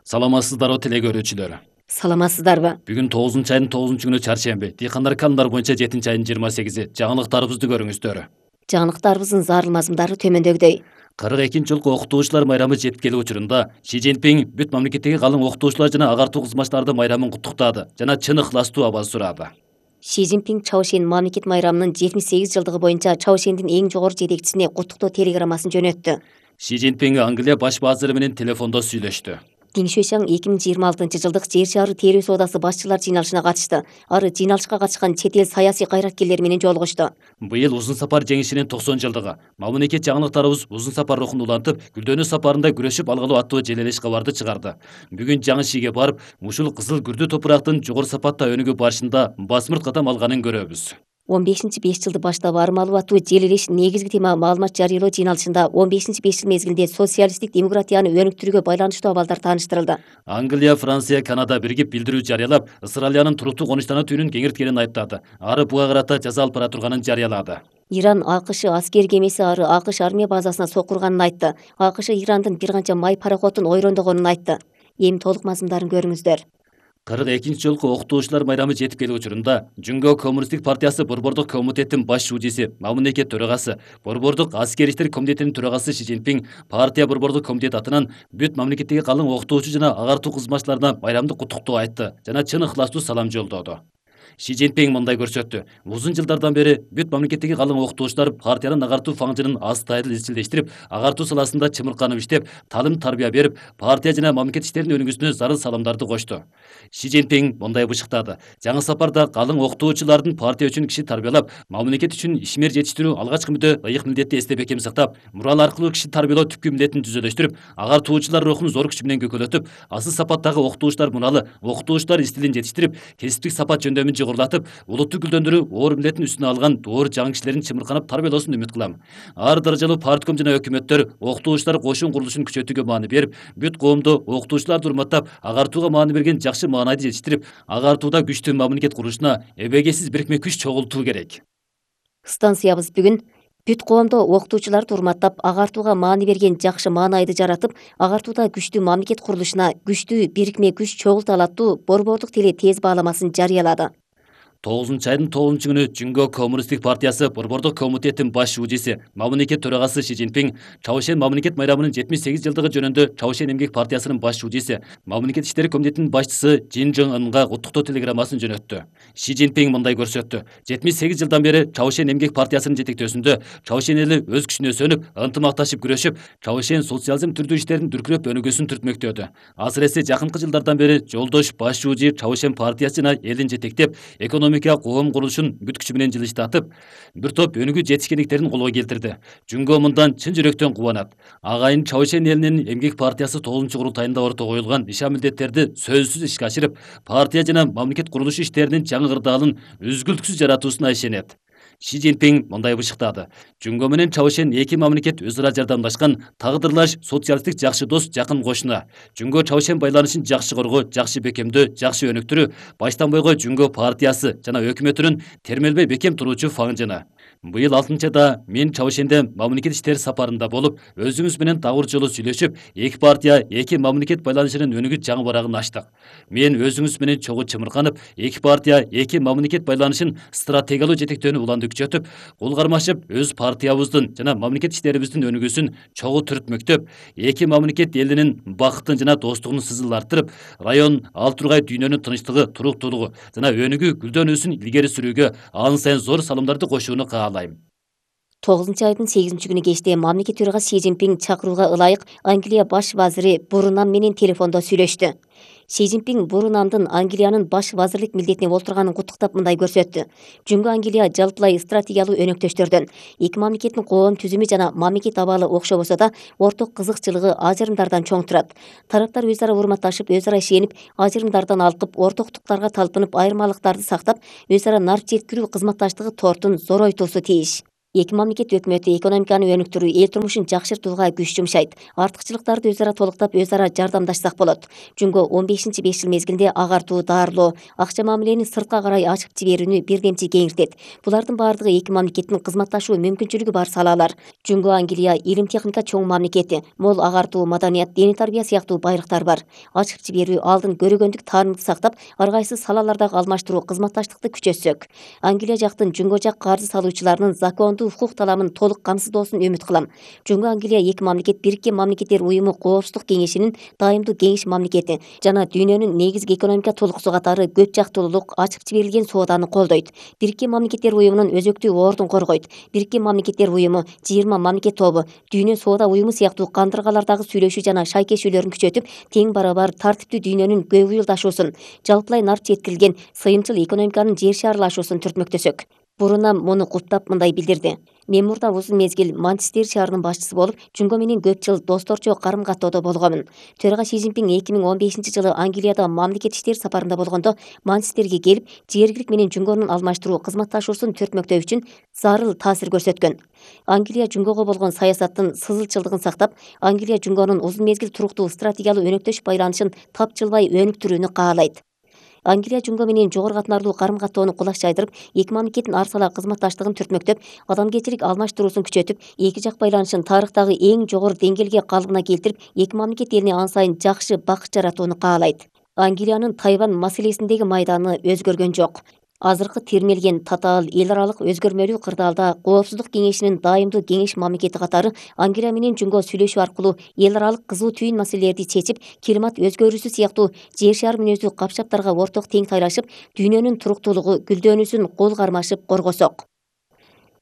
Саламатсыздарбы теле көрүүчүлөр. Саламатсыздарбы? Бүгүн 9-айдын 9-күнү чаршемби. Дыйкандар календар боюнча 7-айдын 28-и. Жаңылыктарыбызды көрүңүздөр. Жаңылыктарыбыздын зарыл мазмундары төмөндөгүдөй. 42 жылкы окутуучулар майрамы жетип келүү учурунда Си Цзиньпин бүт мамлекеттеги калың окутуучулар жана агартуу кызматчыларды майрамын куттуктады жана чын ыхластуу абал сурады. Си Цзиньпин Чаошен мамлекет майрамынын 78 жылдыгы боюнча Чаошендин эң жогору жетекчисине куттуктоо телеграммасын жөнөттү. Си Цзиньпин Англия баш базыры менен телефондо сүйлөштү. Диң Шуйшаң 2026 жылдык жер шаары терүү соодасы башчылар жыйналышына катышты. Ары жыйналышка катышкан чет эл саясий кайраткерлери менен жолугушту. Быйыл узун сапар жеңишинин 90 жылдыгы. Мамлекет жаңылыктарыбыз узун сапар рухун улантып, Гүлдөнүү сапарында күрөшүп алгалуу аттуу желелеш кабарды чыгарды. Бүгүн жаңы шиге барып, ушул кызыл күрдүү топурактын жогору сапатта өнүгүү барышында басмырт кадам алганын көрөбүз. 15-5 жылды баштап арым алуу аттуу желелеш негизги тема маалымат жарыялоо жыйналышында 15-5 жыл мезгилинде социалисттик демократияны өнүктүрүүгө байланыштуу абалдар тааныштырылды. Англия, Франция, Канада биригип билдирүү жарыялап, Ысыралиянын туруктуу конуштана түнүн кеңирткенин айыптады. Ары буга карата жаза алып бара турганын жарыялады. Иран АКШ аскер кемеси ары АКШ армия базасына соккурганын айтты. АКШ Ирандын бир канча май пароходун ойрондогонун айтты. Эми толук мазмундарын көрүңүздөр. 42 жылкы окутуучулар майрамы жетип келүү учурунда Жүнгө Коммунисттик партиясы Борбордук комитеттин баш шуудиси, мамлекет төрагасы, Борбордук аскер иштер комитетинин төрагасы Си Цзиньпин партия Борбордук комитет атынан бүт мамлекеттеги калың окутуучу жана агартуу кызматчыларына майрамдык куттуктоо айтты жана чын ыхластуу салам жолдоду. Си Цзиньпин мындай көрсөттү. Узун жылдардан бери бүт мамлекеттеги калың окутуучулар партиянын агартуу фаңжынын астайыл изчилдештирип, агартуу саласында чымырканып иштеп, талым тарбия берип, партия жана мамлекет иштеринин өнүгүүсүнө зарыл саламдарды кошту. Си Цзиньпин мындай бышыктады. Жаңы сапарда калың окутуучулардын партия үчүн киши тарбиялап, мамлекет үчүн ишмер жетиштирүү алгачкы мүдө ыйык милдетти эсте бекем сактап, мурал аркылуу киши тарбиялоо түпкү милдетин түзөлөштүрүп, агартуучулар рухун зор күч менен көкөлөтүп, асыл сапаттагы окутуучулар муралы, окутуучулар стилин жетиштирип, кесиптик сапат жөндөмүн жогорулатып, улутту гүлдөндүрүү оор милдетин үстүнө алган доор жаңы кишилерин чымырканып тарбиялоосун үмүт кылам. Ар даражалуу партком жана өкмөттөр окутуучулар кошун курулушун күчөтүүгө маани берип, бүт коомду окутуучуларды урматтап, агартууга маани берген жакшы маанайды жетиштирип, агартууда күчтүү мамлекет курулушуна эбегейсиз бирикме күч чогултуу керек. Станциябыз бүгүн бүт коомдо окутуучуларды урматтап, агартууга маани берген жакшы маанайды жаратып, агартууда күчтүү мамлекет курулушуна күчтүү бирикме күч чогулта алаттуу борбордук теле тез бааламасын жарыялады. 9-айдын 9-күнү Жүнгө Коммунисттик партиясы Борбордук комитеттин баш шуудиси, мамлекет төрагасы Си Цзиньпин Чаошен мамлекет майрамынын 78 жылдыгы жөнүндө Чаошен эмгек партиясынын баш шуудиси, мамлекет иштери комитетинин башчысы Жин Жон Ынга куттуктоо телеграммасын жөнөттү. Си Цзиньпин мындай көрсөттү. 78 жылдан бери Чаошен эмгек партиясынын жетектөөсүндө Чаошен эли өз күчүнө сөнүп, ынтымакташып күрөшүп, Чаошен социализм түрдүү иштерин дүркүрөп өнүгүүсүн түртмөктөдү. Асыресе жакынкы жылдардан бери жолдош баш шууди Чаошен партиясы жана элин жетектеп, экономика коом курулушун бүт күчү менен жылыштатып, бир топ өнүгүү жетишкендиктерин колго келтирди. Жүнгө мындан чын жүрөктөн кубанат. Агайын Чаошен элинин эмгек партиясы 9-курултайында ортого коюлган ишан милдеттерди сөзсүз ишке ашырып, партия жана мамлекет курулушу иштеринин жаңы кырдаалын үзгүлтүксүз жаратуусуна ишенет. Си Цзиньпин мындай бышыктады. Жүнгө менен Чаошен эки мамлекет өз ара жардамдашкан, тагдырлаш социалисттик жакшы дос, жакын кошуна. Жүнгө Чаошен байланышын жакшы коргоо, жакшы бекемдөө, жакшы өнүктүрүү баштан бойго Жүнгө партиясы жана өкмөтүнүн термелбей бекем туруучу фаңжыны. Быйыл 6-да мен Чаошенде мамлекет иштери сапарында болуп, өзүңүз менен тагыр жолу сүйлөшүп, эки партия, эки мамлекет байланышынын өнүгүү жаңы барагын ачтык. Мен өзүңүз менен чогуу чымырканып, эки партия, эки мамлекет байланышын стратегиялуу жетектөөнү уланды күчөтүп, кол кармашып, өз партиябыздын жана мамлекет иштерибиздин өнүгүүсүн чогуу түртмөктөп, эки мамлекет элинин бакытын жана достугун сызыл арттырып, район, ал тургай дүйнөнүн тынчтыгы, туруктуулугу жана өнүгүү гүлдөнүүсүн илгери сүрүүгө ан сайын зор салымдарды кошууну каалайм. 9-айдын 8-күнү кечте мамлекет төрагасы Си Цзиньпин чакырууга ылайык Англия баш вазири Бурунам менен телефондо сүйлөштү. Си Цзиньпин Бурунамдын Англиянын баш вазирлик милдетине олтурганын куттуктап мындай көрсөттү. Жүнгө Англия жалпылай стратегиялуу өнөктөштөрдөн. Эки мамлекеттин коом түзүмү жана мамлекет абалы окшобосо да, орток кызыкчылыгы ажырымдардан чоң турат. Тараптар өз ара урматташып, өз ара ишенип, ажырымдардан алкып, ортоктуктарга талпынып, айырмалыктарды сактап, өз ара нарп жеткирүү кызматташтыгы тортун зоройтуусу тийиш. Эки мамлекет өкмөтү экономиканы өнүктүрүү, эл турмушун жакшыртууга күч жумшайт. Артыкчылыктарды өз ара толуктап, өз ара жардамдашсак болот. Жөнгө 15-5 жыл мезгилинде агартуу, даарылоо, акча мамилени сыртка карай ачып жиберүүнү бирдемчи кеңиртет. Булардын баардыгы эки мамлекеттин кызматташуу мүмкүнчүлүгү бар салаалар. Жөнгө Англия илим техника чоң мамлекети, мол агартуу, маданият, диний тарбия сыяктуу байлыктар бар. Ачып жиберүү, алдын көрөгөндүк таанымды сактап, ар кайсы салалардагы алмаштыруу, кызматташтыкты күчөтсөк. Англия жактын жөнгө жак каржы салуучуларынын закондуу укук таламын толук камсыздоосун үмүт кылам. Жөнгө Англия эки мамлекет Бириккен Мамлекеттер Уюму Коопсуздук кеңешинин дайымдуу кеңеш мамлекети жана дүйнөнүн негизги экономика толуксу катары көп жактуулук, ачып жиберилген сооданы колдойт. Бириккен Мамлекеттер Уюмунун өзөктүү ордун коргойт. Бириккен Мамлекеттер Уюму, 20 мамлекет тобу, Дүйнө соода уюму сыяктуу кандыргалардагы сүйлөшүү жана шайкешүүлөрүн күчөтүп, тең барабар тартиптүү дүйнөнүн көбүйүлдашуусун, жалпылай нарт жеткирилген сыйымчыл экономиканын жер шарылашуусун түртмөктөсөк. Бурунам муну куттап мындай билдирди. Мен мурда узун мезгил Манчестер шаарынын башчысы болуп, Жөнгө менен көп жыл досторчо карым-каттоодо болгонмун. Төрага Си Цзиньпин 2015-жылы Англияда мамлекет иштер сапарында болгондо Манчестерге келип, жергилик менен Жөнгөнүн алмаштыруу, кызматташуусун түртмөктөө үчүн зарыл таасир көрсөткөн. Англия Жөнгөгө болгон саясаттын сызылчылдыгын сактап, Англия Жөнгөнүн узун мезгил туруктуу стратегиялык өнөктөш байланышын тапжылбай өнүктүрүүнү каалайт. Англия Жөнгө менен жогору катмарлуу карым-каттоону кулаш жайдырып, эки мамлекеттин ар сала кызматташтыгын түртмөктөп, адамгерчилик алмаштыруусун күчөтүп, эки жак байланышын тарыхтагы эң жогору деңгээлге калыбына келтирип, эки мамлекет элине ан сайын жакшы бакыт жаратууну каалайт. Англиянын Тайвань маселесиндеги майданы өзгөргөн жок. Азыркы термелген татаал эл аралык өзгөрмөлүү кырдаалда Коопсуздук кеңешинин дайымдуу кеңеш мамлекети катары Англия менен Жөнгө сүйлөшүү аркылуу эл аралык кызуу түйүн маселелерди чечип, климат өзгөрүүсү сыяктуу жер шары мүнөздүү капчаптарга орток тең тайлашып, дүйнөнүн туруктуулугу, гүлдөнүүсүн кол кармашып коргосок.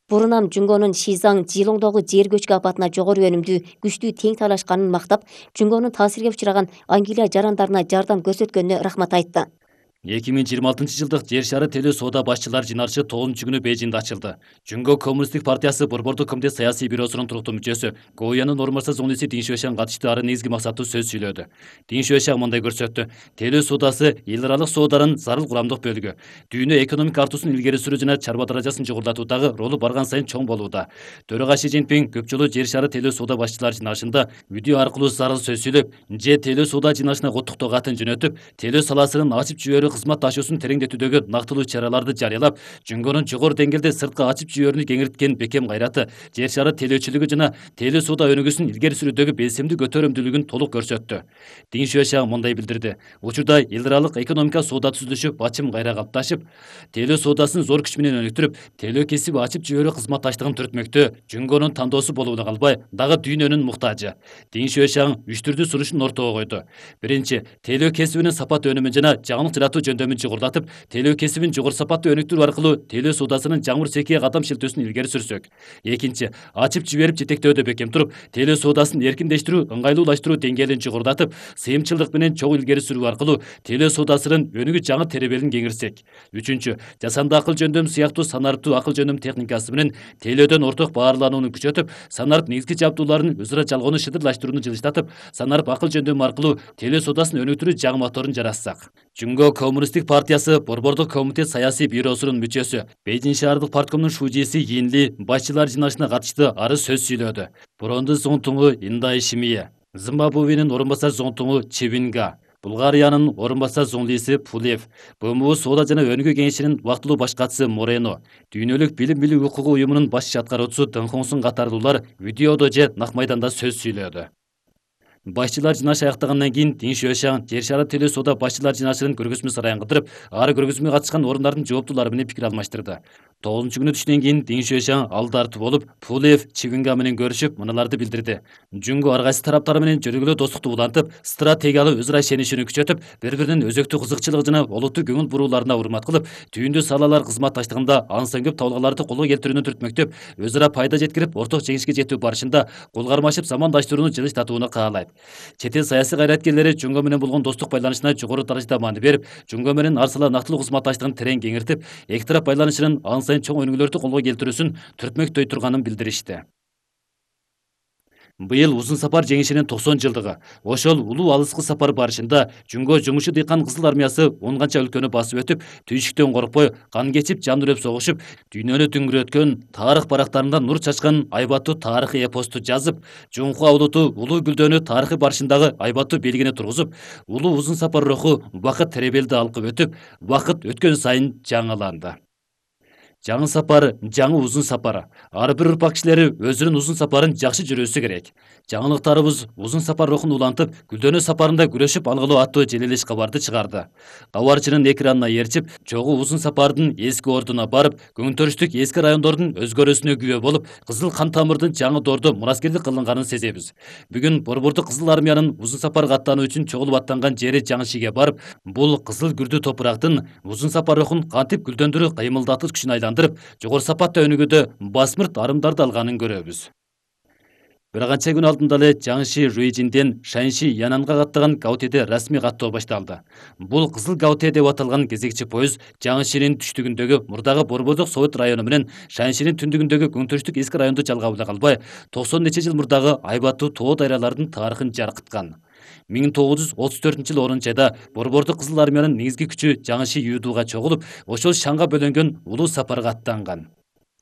Бурунам Жөнгөнүн Шизаң Жилоңдогу жер көчкү апатына жогору өнүмдүү, күчтүү тең тайлашканын мактап, Жөнгөнүн таасирге учураган Англия жарандарына жардам көрсөткөнүнө рахмат айтты. 2026-жылдык жер шары телөө соода башчылар жыйналышы 9-күнү Бейжиңде ачылды. Жөнгө Коммунисттик партиясы Борбордук комитет саясий бюросунун туруктуу мүчөсү Гоуянын орун басар зоңлиси Дин Шуэшан катышты, ары негизги максаттуу сөз сүйлөдү. Дин Шуэшан мындай көрсөттү: телөө соодасы эл аралык сооданын зарыл курамдык бөлүгү. Дүйнө экономика артуусун илгери сүрүү жана чарба даражасын жогорулатуудагы ролу барган сайын чоң болууда. Төрага Си Цзиньпин көп жолу жер шары телөө соода башчылар жыйналышында видео аркылуу зарыл сөз сүйлөп, же телөө соода жыйналышына куттуктоо катын жөнөтүп, телөө саласынын ачып жиберүү кызматташуусун тереңдетүүдөгү нактылуу чараларды жарыялап, Жөнгөнүн жогору деңгээлде сыртка ачып жиберүүнү кеңирткен бекем кайраты, жер шары телөөчүлүгү жана телөө соода өнүгүүсүн илгери сүрүүдөгү белсемдүү көтөрөмдүүлүгүн толук көрсөттү. Дин Шуэшан мындай билдирди: учурда эл аралык экономика соода түзүлүшү бачым кайра калыпташып, телөө соодасын зор күч менен өнүктүрүп, телөө кесиби ачып жиберүү кызматташтыгын түртмөктө Жөнгөнүн тандоосу болууна калбай, дагы дүйнөнүн муктажы. Дин Шуэшан 3 түрдүү сунушун ортого койду. Биринчи, телөө кесибинин сапат өнүмүн жана жаңылык жаратуу жөндөмүн жогорулатып, телөө кесибин жогору сапаттуу өнүктүрүү аркылуу телөө соодасынын жаңыр секие кадам шилтөөсүн илгери сүрсөк. Экинчи, ачып жиберип жетектөөдө бекем туруп, телөө соодасын эркиндештирүү, ыңгайлуулаштыруу деңгээлин жогорулатып, сыйымчылдык менен чоң илгери сүрүү аркылуу телөө соодасынын өнүгүү жаңы теребелин кеңиртсек. Үчүнчү, жасанды акыл жөндөм сыяктуу санариптүү акыл жөндөм техникасы менен телөөдөн орток баарланууну күчөтүп, санарип негизги жабдууларын өз ара жалгоону шыдырлаштырууну жылыштатып, санарип акыл жөндөмү аркылуу телөө соодасын өнүктүрүү жаңы моторун жаратсак. Жөнгө Коммунисттик партиясы Борбордук комитет саясий бюросунун мүчөсү, Бейжиң шаардык парткомдун шужиси Йинли башчылар жыйналышына катышты, ары сөз сүйлөдү. Бурунду зоңтуңу Индай Шимие, Зимбабвенин орун басар зоңтуңу Чевинга, Булгариянын орун басар зоңлиси Пулев, БМУ соода жана өнүгүү кеңешинин убактылуу баш катчысы Морено, Дүйнөлүк билим билүү укугу уюмунун баш аткаруучусу Дэн Хонсун катарлуулар видеодо же нак майданда сөз сүйлөдү. Башчылар жыйналышы аяктагандан кийин Дин Шуэшан жер шары телөө соода башчылар жыйналышынын көргөзмө сарайын кыдырып, ары көргөзмөгө катышкан орундардын жооптуулары менен пикир алмаштырды. 9-күнү түштөн кийин Дин Шуэшан ал тартып болуп, Пулев Чевинга менен көрүшүп, мыналарды билдирди. Жөнгө ар кайсы тараптар менен жөргөлүү достукту улантып, стратегиялык өз ара ишенишүүнү күчөтүп, бири-биринин өзөктүү кызыкчылыгы жана олуттуу көңүл бурууларына урмат кылып, түйүндүү салалар кызматташтыгында ансын көп табылгаларды колго келтирүүнү түртмөктөп, өз ара пайда жеткирип, орток жеңишке жетүү барышында кол кармашып замандаштырууну жылыштатууну каалайт. Чет эл саясий кайраткерлери Жөнгө менен болгон достук байланышына жогору даражада маани берип, Жөнгө менен ар сала нактылуу кызматташтыгын терең кеңиртип, эки тарап байланышынын ан сайын чоң өнүгүүлөрдү колго келтирүүсүн түртмөктөй турганын билдиришти. Быйыл узун сапар жеңишинин 90 жылдыгы. Ошол улуу алыскы сапар барышында Жүнгө жумушу дыйкан кызыл армиясы 10 канча өлкөнү басып өтүп, түйшүктөн коркпой, кан кечип, жан үрөп согушуп, дүйнөнү түңүрөткөн, тарых барактарында нур чачкан айбаттуу тарыхый эпосту жазып, Жоңку Аулуту улуу Гүлдөөнү тарыхый барышындагы айбаттуу белгини тургузуп, улуу узун сапар руху убакыт теребелди алкып өтүп, убакыт өткөн сайын жаңыланды. Жаңы сапар, жаңы узун сапар. Ар бир урпак кишилери өзүнүн узун сапарын жакшы жүрүүсү керек. Жаңылыктарыбыз узун сапар рухун улантып, Гүлдөөнү сапарында күрөшүп алгылоо аттуу желелеш кабарды чыгарды. Кабарчынын экранына ээрчип, чогуу узун сапардын эски ордуна барып, көңтөрүштүк эски райондордун өзгөрүүсүнө күбө болуп, кызыл кан тамырдын жаңы доордо мураскердик кылынганын сезебиз. Бүгүн Борбордук Кызыл Армиянын узун сапарга аттануу үчүн чогулуп аттанган жери Жаңышиге барып, бул кызыл күрдүү топурактын узун сапар рухун кантип гүлдөндүрүп, кыймылдатып күчүн айландырып, жогору сапатта өнүгүүдө басмырт арымдарды алганын көрөбүз. Бир канча күн алдында эле Жаңыши Руйжинден Шаньши Янанга каттаган Гаутеде расмий каттоо башталды. Бул кызыл Гаутэ деп аталган кезекчи поезд Жаңышинин түштүгүндөгү мурдагы Борбордук Совет району менен Шаньшинин түндүгүндөгү көңтөрүштүк эски районду жалгап эле калбай, 90 нече жыл мурдагы айбаттуу тоо дайралардын тарыхын жаркыткан. 1934-жылы 10-айда Борбордук Кызыл Армиянын негизги күчү Жаңыши Юдууга чогулуп, ошол шаңга бөлөнгөн улуу сапарга аттанган.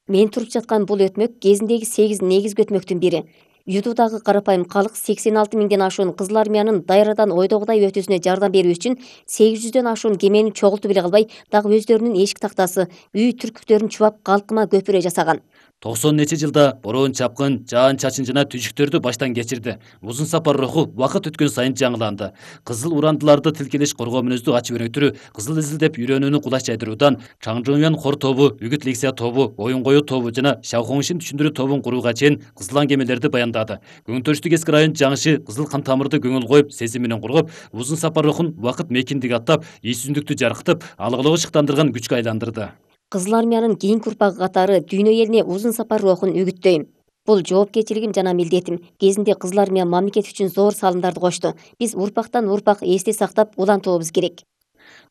Мен туруп жаткан бул өтмөк кезиндеги 8 негизги өтмөктүн бири. Юдуудагы карапайым калк 86 миңден ашуун Кызыл Армиянын дайрадан ойдогудай өтүүсүнө жардам берүү үчүн 800дөн ашуун кемени чогултуп эле калбай, дагы өздөрүнүн эшик тактасы, үй түркүктөрүн чубап калкыма көпүрө жасаган. 90 нече жылда бороон чапкын, жаан чачын жана түшүктөрдү баштан кечирди. Узун сапар руху убакыт өткөн сайын жаңыланды. Кызыл урандыларды тилкелеш коргоо мүнөздүү ачып өнүктүрүү, кызыл изилдеп үйрөнүүнү кулаш жайдыруудан Чаңжоңян хор тобу, Үгүт Лексия тобу, Оюн коюу тобу жана Шаохоңшин түшүндүрүү тобун курууга чейин кызылан кемелерди баяндады. Көңтөрүштүк эски район Жаңыши кызыл кан тамырды көңүл коюп, сезим менен коргоп, узун сапар рухун убакыт мекиндиги аттап, ийсиздүктү жаркытып, алгылоого шыктандырган күчкө айландырды. Кызыл Армиянын кийинки урпагы катары дүйнө элине узун сапар рухун үгүттөйм. Бул жоопкерчилигим жана милдетим. Кезинде Кызыл Армия мамлекет үчүн зор салымдарды кошту. Биз урпактан урпак эсте сактап улантуубуз керек.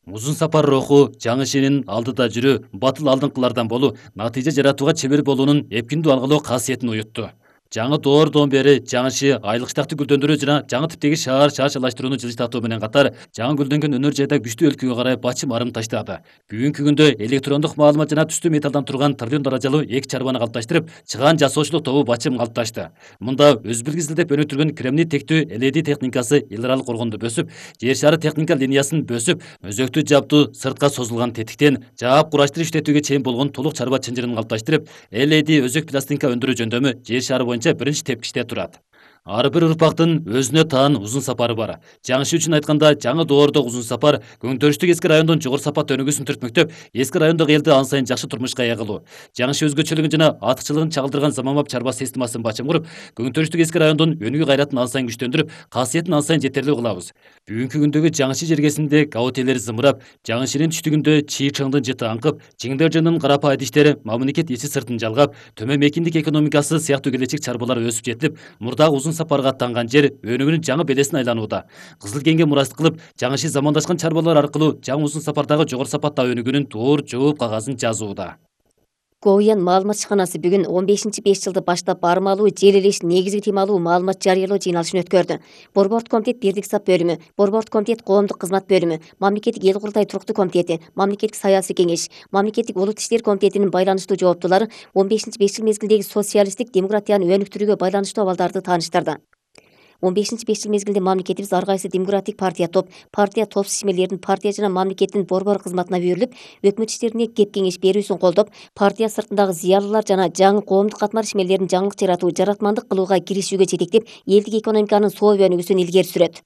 Узун сапар руху Жаңышинин алдыда жүрүү, батыл алдыңкылардан болуу, натыйжа жаратууга чебер болуунун эпкиндүү алгылоо касиетин уютту. Жаңы доордон бери Жаңыши айлыктакты гүлдөндүрүү жана жаңы типтеги шаар шаарчалаштырууну жылжытатуу менен катар, жаңы гүлдөнгөн өнөр жайда күчтүү өлкөгө карай бачым арым таштады. Бүгүнкү күндө электрондук маалымат жана түстүү металлдан турган триллион даражалуу эки чарбаны калыпташтырып, чыгаан жасоочулук тобу бачым калыпташты. Мында өзбүлк изилдеп өнүктүргөн кремний тектүү LED техникасы эл аралык коргонду бөсүп, жер шары техника линиясын бөсүп, өзөктү жаптуу сыртка созулган тетиктен жаап кураштырып иштетүүгө чейин болгон толук чарба чынжырын калыпташтырып, LED өзөк пластинка өндүрүү жөндөмү жер шары боюнча биринчи тепкичте турат. Ар бир урпактын өзүнө таан узун сапары бар. Жаңыши үчүн айтканда, жаңы доордогу узун сапар көңтөрүштүк эски райондун жогору сапатта өнүгүүсүн түртмөктөп, эски райондогу элди ан сайын жакшы турмушка ээ кылуу. Жаңыши өзгөчөлүгүн жана артыкчылыгын чагылдырган заманбап чарба системасын бачым куруп, көңтөрүштүк эски райондун өнүгүү кайратын ан сайын күчтөндүрүп, касиетин ан сайын жетерлүү кылабыз. Бүгүнкү күндөгү Жаңыши жергесинде Гаутелер зымырап, Жаңышинин түштүгүндө Чи Чыңдын жыты аңкып, Чиңдержинин карапа айдиштери мамлекет ичи сыртын жалгап, төмөн мекиндик экономикасы сыяктуу келечек чарбалар өсүп жетилип, мурдагы узун сапарга аттанган жер өнүгүүнүн жаңы белесин айланууда. Кызыл кеңге мурастык кылып, Жаңыши замандашкан чарбалар аркылуу жаңы узун сапардагы жогору сапатта өнүгүүнүн туур жооп кагазын жазууда. Гоуян маалымат ишканасы бүгүн 15-5 жылды баштап бармалуу желелеш негизги темалуу маалымат жарыялоо жыйналышын өткөрдү. Борбордук комитет бирдик сап бөлүмү, Борбордук комитет коомдук кызмат бөлүмү, Мамлекеттик эл курултай туруктуу комитети, Мамлекеттик саясий кеңеш, Мамлекеттик улут иштер комитетинин байланыштуу жооптуулары 15-5 жыл мезгилдеги социалисттик демократияны өнүктүрүүгө байланыштуу абалдарды тааныштырды. 15-5 жыл мезгилде мамлекетибиз ар кайсы демократик партия топ ишмерлердин партия жана мамлекеттин борбор кызматына берилип, өкмөт иштерине кеп кеңеш берүүсүн колдоп, партия сыртындагы зыялылар жана жаңы коомдук катмар ишмерлерин жаңылык жаратуу, жаратмандык кылууга киришүүгө жетектеп, элдик экономиканын соо өнүгүүсүн илгери сүрөт.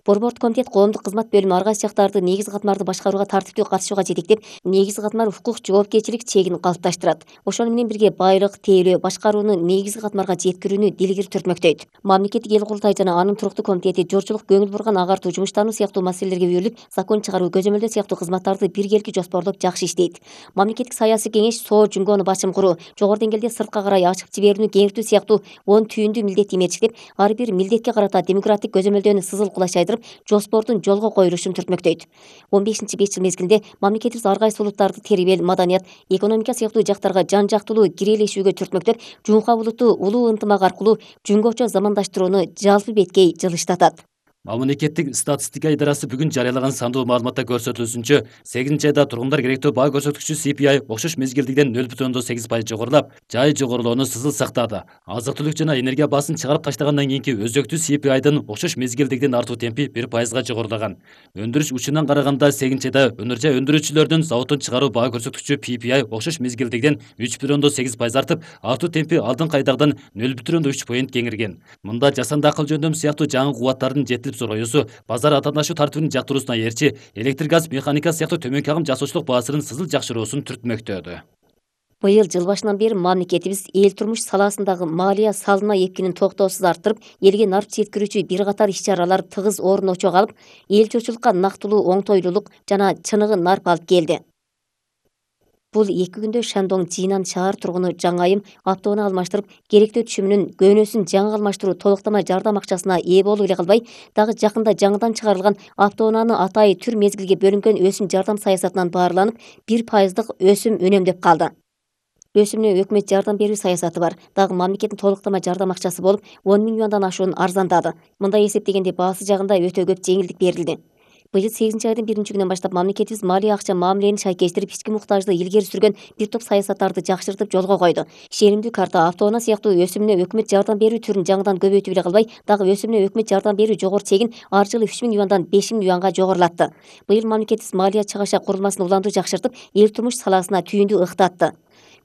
Борбордук комитет коомдук кызмат бөлүмү ар кайсы жактарды негизги катмарды башкарууга тартиптүү катышууга жетектеп, негизги катмар укук жоопкерчилик чегин калыпташтырат. Ошону менен бирге байлык, тейлөө, башкарууну негизги катмарга жеткирүүнү дилгири түртмөктөйт. Мамлекеттик эл курултай жана анын туруктуу комитети жорчулук, көңүл бурган агартуу, жумуштануу сыяктуу маселелерге берилип, закон чыгаруу, көзөмөлдөө сыяктуу кызматтарды биргеликти жоспорлоп жакшы иштейт. Мамлекеттик саясий кеңеш соо жумгоону бачым куруу, жогору деңгээлде сыртка карай ачып жиберүүнү кеңиртүү сыяктуу 10 түйүндүү милдетти менчиктеп, ар бир милдетке карата демократик көзөмөлдөөнү сызыл кулаш айландырып, жоспордун жолго коюлушун түртмөктөйт. 15-5 жыл мезгилинде мамлекетибиз ар кайсы улуттарды тербел, маданият, экономика сыяктуу жактарга жан-жактылуу кирелешүүгө түртмөктөп, Жуңка улуту улуу ынтымак аркылуу жөнгөчө замандаштырууну жалпы беткей жылыштатат. Мамлекеттик статистика идарасы бүгүн жарыялаган сандуу маалыматта көрсөтүлүшүнчө, 8 айда тургундар керектөө баа көрсөткүчү CPI окшош мезгилдигиден 0,8% жогорулап, жай жогорулоону сызыл сактады. Азык-түлүк жана энергия баасын чыгарып таштагандан кийинки өзөктүү CPI'дын окшош мезгилдигиден артуу темпи 1%га жогорулаган. Өндүрүш учунан караганда 8 айда өнөр жай өндүрүүчүлөрдүн заводдон чыгаруу баа көрсөткүчү PPI окшош мезгилдигиден 3,8% артып, артуу темпи алдыңкы айдагыдан 0,3 поинт кеңирген. Мында жасанды акыл жөндөмү сыяктуу жаңы кубаттардын жетилип сороюусу, базар атаандашу тартибинин жактыруусуна ээрчи, электр газ, механика сыяктуу төмөнкү агым жасоочулук баасынын сызыл жакшыруусун түртмөктөдү. Быйыл жыл башынан бери мамлекетибиз эл турмуш саласындагы малия салына эпкинин токтоосуз арттырып, элге нарп жеткирүүчү бир катар иш-чаралар тыгыз орун очо калып, эл журтчулукка нактылуу оңтойлуулук жана чыныгы нарп алып келди. Бул 2 күндө Шандong Жинан шаар тургуну жаңы айым автоону алмаштырып, керектөө түшүмүнүн көнөсүн жаңы алмаштыруу толуктама жардам акчасына ээ болуп эле калбай, дагы жакында жаңыдан чыгарылган автоунааны атайы түр мезгилге бөлүнгөн өсүм жардам саясатынан баарланып, 1% өсүм үнөмдөп калды. Өсүмүнө өкмөт жардам берүү саясаты бар. Дагы мамлекеттин толуктама жардам акчасы болуп, 10 000 юандан ашуун арзандады. Мындай эсептегенде баасы жагында өтө көп жеңилдик берилди. Быйыл 8 айдын 1-күнүнөн баштап мамлекетибиз малия акча мамилени шайкештирип, ички муктажды илгери сүргөн бир топ саясаттарды жакшыртып жолго койду. Шеримдүү карта, автоунаа сыяктуу өсүмүнө өкмөт жардам берүү түрүн жаңыдан көбөйтүп эле калбай, дагы өсүмүнө өкмөт жардам берүү жогору чегин ар жылы 3 000 юандан 5 000 юанга жогорулатты. Быйыл мамлекетибиз малия чыгаша курулмасын уланды жакшыртып, эл турмуш саласына түйүндү ыктатты.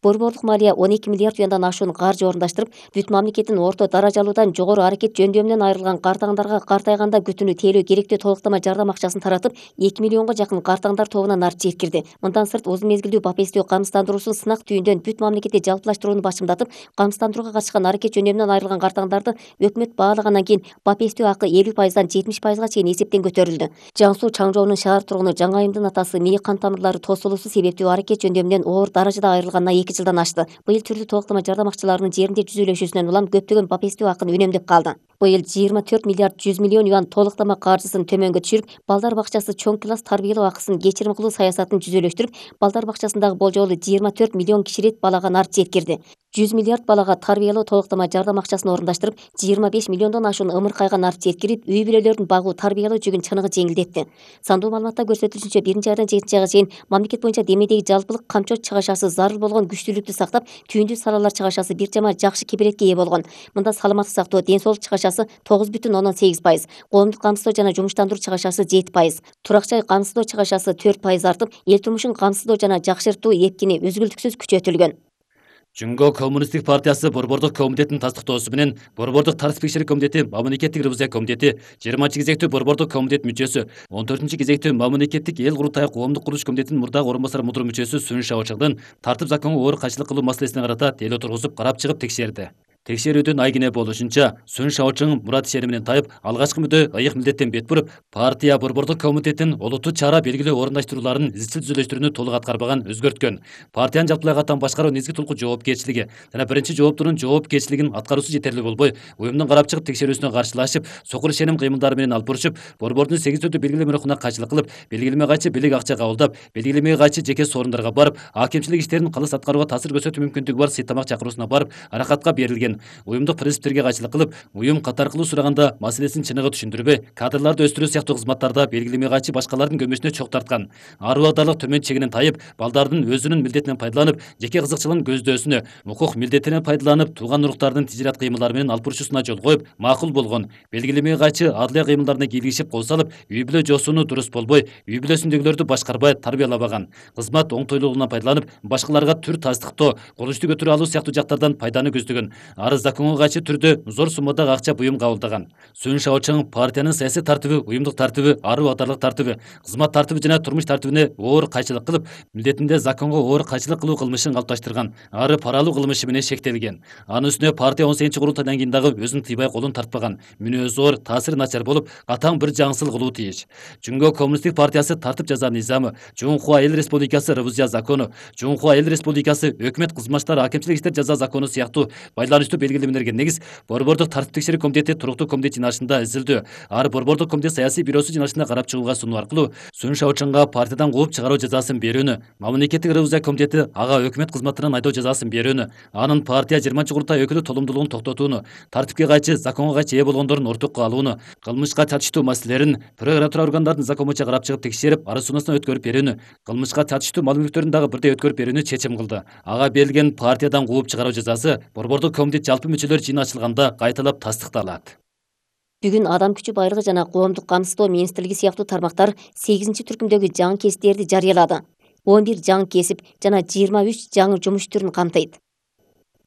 Борбордук малия 12 миллиард юандан ашуун каржы орундаштырып, бүт мамлекеттин орто даражалуудан жогору аракет жөндөмүнөн айрылган картаңдарга картайганда күтүүнү тейлөө керектөө толуктама жардам акчасын таратып, 2 миллионго жакын картаңдар тобуна нарп жеткирди. Мындан сырт узун мезгилдүү бапестөө камсыздандыруусун сынак түйүндөн бүт мамлекетте жалпылаштырууну башымдатып, камсыздандырууга катышкан аракет жөндөмүнөн айрылган картаңдарды өкмөт баалагандан кийин бапестөө акы 50%дан 70%га чейин эсептен көтөрүлдү. Жаңсуу Чаңжоонун шаар тургуну жаңы айымдын атасы мээ кан тамырлары тосулуусу себептүү аракет жөндөмүнөн оор даражада айрылганына 2 жылдан ашты. Быйыл түрдүү толуктама жардам акчаларынын жеринде жүзүлөшүүсүнөн улам көптөгөн бапестөө акын үнөмдөп калды. Быйыл 24 миллиард 100 миллион юан толуктама каржысын төмөнгө түшүрүп, балдар бакчасы чоң класс тарбиялоо акысын кечирим кылуу саясатын жүзөлөштүрүп, балдар бакчасындагы болжолу 24 миллион киширет балага нарп жеткирди. 100 миллиард балага тарбиялоо толуктама жардам акчасын орундаштырып, 25 миллиондон ашуун ымыркайга нарп жеткирип, үй бүлөлөрдүн багуу тарбиялоо жүгүн чыныгы жеңилдетти. Сандуу маалыматта көрсөтүлүшүнчө 1 айдан 7 айга чейин мамлекет боюнча демедеги жалпылык камчоо чыгашасы зарыл болгон күчтүүлүктү сактап, түйүндүү салалар чыгашасы бир жама жакшы кеберетке ээ болгон. Мында саламаттык сактоо, ден соолук чыгашасы 9,8%, коомдук камсыздоо жана жумуштандыруу чыгашасы 7%, турак жай камсыздоо чыгашасы 4% артып, эл турмушун камсыздоо жана жакшыртуу эпкини үзгүлтүксүз күчөтүлгөн. Жөнгө коммунисттик партиясы Борбордук комитетинин тастыктоосу менен Борбордук тартип текшерүү комитети, Мамлекеттик ревизия комитети, 20 кезектүү Борбордук комитет мүчөсү, 14 кезектүү Мамлекеттик эл курултайы коомдук курулуш комитетинин мурдагы орун басар мудур мүчөсү Сүн Шаочыңдын тартип законго оор кайшылык кылуу маселесине карата тейлөө тургузуп карап чыгып текшерди. Текшерүүдүн айгине болушунча, Сүн Шаочың мурат ишени менен тайып, алгачкы мүдө ыйык милдеттен бет буруп, партия Борбордук комитетинин олуттуу чара белгилөө орундаштырууларын изчил түзүлүштүрүүнү толук аткарбаган, өзгөрткөн. Партиянын жалпылай каттам башкаруу негизги тулку жоопкерчилиги жана биринчи жооптунун жоопкерчилигин аткаруусу жетерлик болбой, уюмдун карап чыгып текшерүүсүнө каршылашып, сокур ишеним кыймылдары менен алып бурушуп, борбордун 8 түрдүү белгилеме рухуна кайчылык кылып, белгилеме кайчы бийлик акча кабылдап, белгилеме кайчы жеке соорондарга барып, акимчилик иштерин калыс аткарууга таасир көрсөтүү мүмкүндүгү бар сыйтамак чакыруусуна барып, аракатка берилген. Уюмдук принциптерге кайчылык кылып, уюм катар кылуу сураганда маселесин чыныгы түшүндүрбөй, кадрларды өстүрүү сыяктуу кызматтарда белгилеме кайчы башкалардын көмөсүнө чок тарткан. Ар убактылык төмөн чегинен тайып, балдардын өзүнүн милдетинен пайдаланып, жеке кызыкчылыгын көздөөсүнө, укук милдетинен пайдаланып, тууган уруктардын тижират кыймылдары менен алып бурушусуна жол коюп, макул болгон. Белгилеме кайчы адылия кыймылдарына кийлигишип кол салып, үй бүлө жосууну дурус болбой, үй бүлөсүндөгүлөрдү башкарбай тарбиялабаган. Кызмат оңтойлуулугунан пайдаланып, башкаларга түр тастыктоо, курулушту көтөрө алуу сыяктуу жактардан пайданы көздөгөн. Ары законго кайчы түрдө зор суммадагы акча буюм кабылдаган. Сүн Шаочың партиянын саясий тартиби, уюмдук тартиби, ары убактылык тартиби, кызмат тартиби жана турмуш тартибине оор кайчылык кылып, милдетинде законго оор кайчылык кылуу кылмышын калыпташтырган. Ары пара алуу кылмышы менен шектелген. Анын үстүнө партия 18 курултайдан кийин дагы өзүн тыйбай колун тартпаган. Мүнөзү оор, таасири начар болуп, катаң бир жаңсыл кылуу тийиш. Жөнгө коммунисттик партиясы тартип жаза низамы, Жуңхуа эл республикасы ревизия закону, Жуңхуа эл республикасы өкмөт кызматчылар акимчилик иштер жаза закону сыяктуу байланыш байланыштуу белгилемелерге негиз Борбордук тартип текшерүү комитети туруктуу комитет жыйналышында изилдөө, ар Борбордук комитет саясий бюросу жыйналышында карап чыгууга сунуу аркылуу Сун Шаочанга партиядан кууп чыгаруу жазасын берүүнү, мамлекеттик ревизия комитети ага өкмөт кызматынан айдоо жазасын берүүнү, анын партия 20-курултай өкүлү толумдуулугун токтотууну, тартипке кайчы, законго кайчы ээ болгондордун ортокко алууну, кылмышка чачыштуу маселелерин прокуратура органдардын закон боюнча карап чыгып текшерип, арыз суунасынан өткөрүп берүүнү, кылмышка чачыштуу мал мүлктөрүн дагы бирдей өткөрүп берүүнү чечим кылды. Ага берилген партиядан кууп чыгаруу жазасы Борбордук комитет жалпы мүчөлөр жыйыны ачылганда кайталап тастыкталат. Бүгүн Адам күчү байлыгы жана коомдук камсыздоо министрлиги сыяктуу тармактар 8-түркүмдөгү жаңы кесиптерди жарыялады. 11 жаңы кесип жана 23 жаңы жумуш түрүн камтыйт.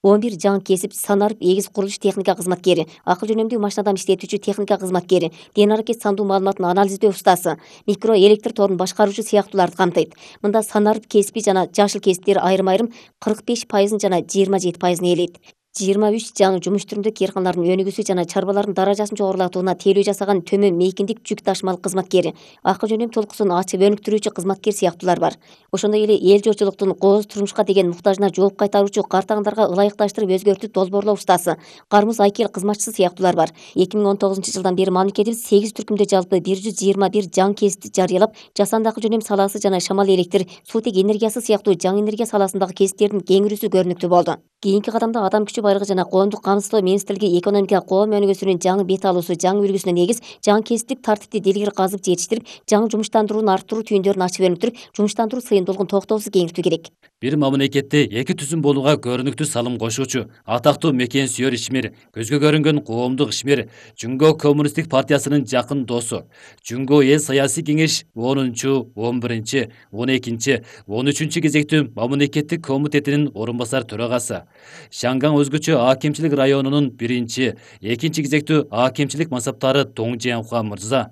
11 жаңы кесип санарып эгиз курулуш техника кызматкери, акыл жөнөмдүү машинадан иштетүүчү техника кызматкери, ден аракет сандуу маалыматын анализдөө устасы, микро электр торун башкаруучу сыяктууларды камтыйт. Мында санарып кесипи жана жашыл кесиптер айрым-айрым 45% жана 27% ээлейт. 23 жаңы жумуш түрүндө кээрканалардын өнүгүүсү жана чарбалардын даражасын жогорулатууна тейлөө жасаган төмөн мейкиндик жүк ташымалык кызматкери, акыл жөнөм толкусун ачып өнүктүрүүчү кызматкер сыяктуулар бар. Ошондой эле эл жочулуктун кооз турмушка деген муктажына жооп кайтаруучу картаңдарга ылайыкташтырып өзгөртүп долбоорлоо устасы, кармыз айкел кызматчысы сыяктуулар бар. 2019-жылдан бери мамлекетибиз 8 түркүмдө жалпы 121 жаңы кесипти жарыялап, жасанды акыл жөнөм саласы жана шамал электр, суутек энергиясы сыяктуу жаңы энергия саласындагы кесиптердин кеңирүүсү көрүнүктүү болду. Кийинки кадамда Адам күчү байлыгы жана коомдук камсыздоо министрлиги экономика коом өнүгүүсүнүн жаңы бет алуусу, жаңы үлгүсүнө негиз жаңы кесиптик тартипти дилгир казып жетиштирип, жаңы жумуштандырууну арттыруу түйүндөрүн ачып өнүктүрүп, жумуштандыруу сыйымдуулугун токтоосуз кеңиртүү керек. Бир мамлекетте эки түзүм болууга көрүнүктүү салым кошуучу, атактуу мекен сүйөр ишмер, көзгө көрүнгөн коомдук ишмер, Жүнгө коммунисттик партиясынын жакын досу, Жүнгө эл саясий кеңеш 10-чу, 11-чи, 12-чи, 13-чү кезектүү мамлекеттик комитетинин орун басар төрагасы, Шанган өзгөчө акимчилик районунун 1-чи, 2-чи кезектүү акимчилик мансаптары Доң Жиянхуа мырза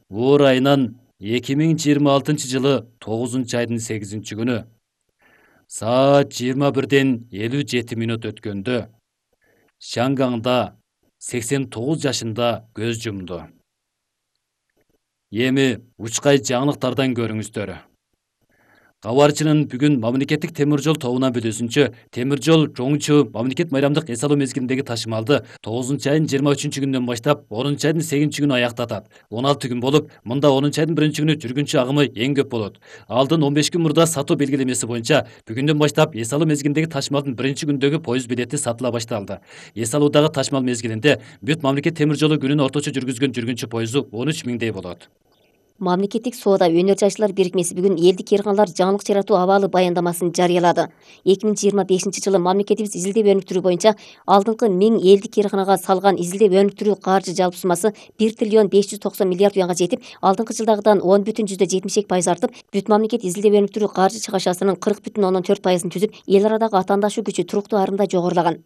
оор айынан 2026-жылы 9-айдын 8-чи күнү саат 21:57 өткөндө Шанганда 89 жашында көз жумду. Эми учкай жаңылыктардан көрүңүздөр. Кабарчынын бүгүн мамлекеттик темир жол тобунан билүүсүнчө, темир жол Жоңчу мамлекет майрамдык эс алуу мезгилиндеги ташымалды 9-айдын 23-чү күнүнөн баштап 10-айдын 8-чү күнү аяктатат. 16 күн болуп, мында 10-айдын 1-чү күнү жүргүнчү агымы эң көп болот. Алдын 15 күн мурда сатуу белгилемеси боюнча бүгүндөн баштап эс алуу мезгилиндеги ташымалдын 1-чү күндөгү поезд билети сатыла башталды. Эс алуудагы ташымал мезгилинде бүт мамлекет темир жолу күнүнө орточо жүргүзгөн жүргүнчү поезду 13 миңдей болот. Мамлекеттик соода өнөр жайчылар бирикмеси бүгүн элдик кээрканалар жаңылык жаратуу абалы баяндамасын жарыялады. 2025-жылы мамлекетибиз изилдеп өнүктүрүү боюнча алдыңкы 1000 элдик кээрканага салган изилдеп өнүктүрүү каржы жалпы суммасы 1 триллион 590 миллиард юанга жетип, алдыңкы жылдагыдан 10,72% артып, бүт мамлекет изилдеп өнүктүрүү каржы чыгашасынын 40,14% түзүп, эл арадагы атаандашуу күчү туруктуу арымда жогорулаган.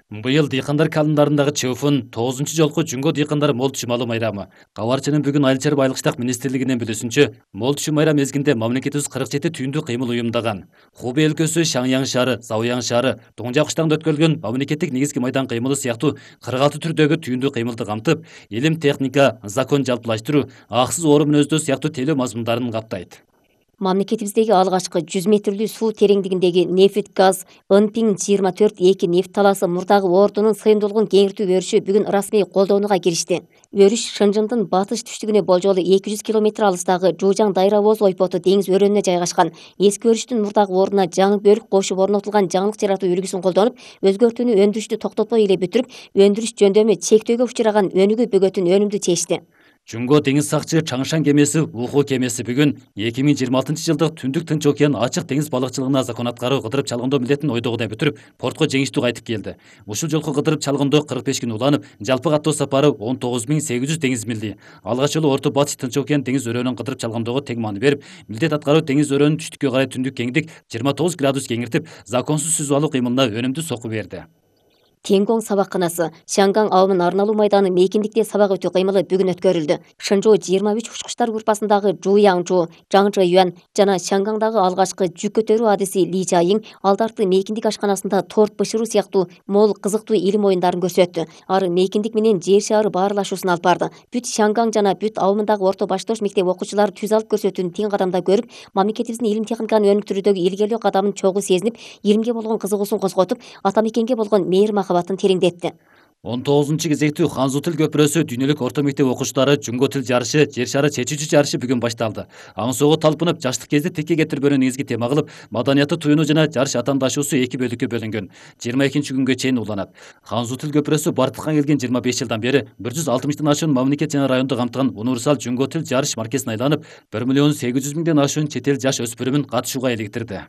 Быйыл дыйкандар календарындагы чөүфүн 9-чу жолку Жүнгө дыйкандар мол түшүм майрамы. Кабарчынын бүгүн Айыл чарба айылык иштак министрлигинин билүүсүнчө, мол түшүм майрам мезгилинде мамлекетибиз 47 түйүндүү кыймыл уюмдаган. Хубей өлкөсү, Шаңяң шаары, Завуяң шаары, Доңжак кыштагында өткөрүлгөн мамлекеттик негизги майдан кыймылы сыяктуу 46 түрдөгү түйүндүү кыймылды камтып, илим, техника, закон жалпылаштыруу, аксыз орун мүнөздөө сыяктуу тейлөө мазмундарын каптайт. Мамлекетибиздеги алгачкы 100 метрлүү суу тереңдигиндеги нефть газ Ынпиң 24-2 нефть талаасы мурдагы ордунун сыйымдуулугун кеңиртүү өрүшү бүгүн расмий колдонууга киришти. Өрүш Шынжыңдын батыш түштүгүнө болжолу 200 км алыстагы Жужаң Дайравоз ойпоту деңиз өрөөнүнө жайгашкан. Эски өрүштүн мурдагы ордуна жаңы бөлүк кошуп орнотулган жаңылык жаратуу үлгүсүн колдонуп, өзгөртүүнү өндүрүштү токтотпой эле бүтүрүп, өндүрүш жөндөмү чектөөгө учураган өнүгүү бөгөтүн өнүмдүү чечти. Жүнгө деңиз сакчы Чаңшан кемеси Уху кемеси бүгүн 2026-жылдык түндүк Тынч океан ачык деңиз балыкчылыгына закон аткаруу кыдырып чалгындоо милдетин ойдогудай бүтүрүп, портко жеңиштүү кайтып келди. Ушул жолку кыдырып чалгындоо 45 күн уланып, жалпы каттоо сапары 19800 деңиз милди. Алгач жолу Орто Батыш Тынч океан деңиз өрөөнүн кыдырып чалгындоого тең маани берип, милдет аткаруу деңиз өрөөнүн түштүккө карай түндүк кеңдик 29 градус кеңиртип, законсуз сүзүп алуу кыймылына өнүмдүү сокку берди. Тенгоң сабакканасы Шанган абымын арналуу майданы мейкиндикте сабак өтүү кыймылы бүгүн өткөрүлдү. Шынжоо 23 учкучтар группасындагы Жуяңжу, Жаңжы Юан жана Шангаңдагы алгачкы жүк көтөрүү адиси Ли Жайың алдарты мейкиндик ашканасында торт бышыруу сыяктуу мол кызыктуу илим оюндарын көрсөттү. Ары мейкиндик менен жер шаары баарлашуусун алып барды. Бүт Шанган жана бүт абымындагы орто баштош мектеп окуучулары түз алып көрсөтүүнү тең кадамда көрүп, мамлекетибиздин илим техниканы өнүктүрүүдөгү илгерлөө кадамын чогуу сезинип, илимге болгон кызыгуусун козготуп, ата мекенге болгон мээри махабат кабатын тереңдетти. 19-кезектүү Ханзу тил көпүрөсү дүйнөлүк орто мектеп окуучулары жунго тил жарышы, жер шары чечүүчү жарышы бүгүн башталды. Аңсоого талпынып, жаштык кезде тикке кетирбөөнү негизги тема кылып, маданияты туюну жана жарыш атаандашуусу эки бөлүккө бөлүнгөн. 22-күнгө чейин уланат. Ханзу тил көпүрөсү Бартылган келген 25 жылдан бери 160тан ашуун мамлекет жана районду камтыган универсал жунго тил жарыш маркесин айланып, 1 800 000ден ашуун чет эл жаш өспүрүмүн катышууга иликтирди.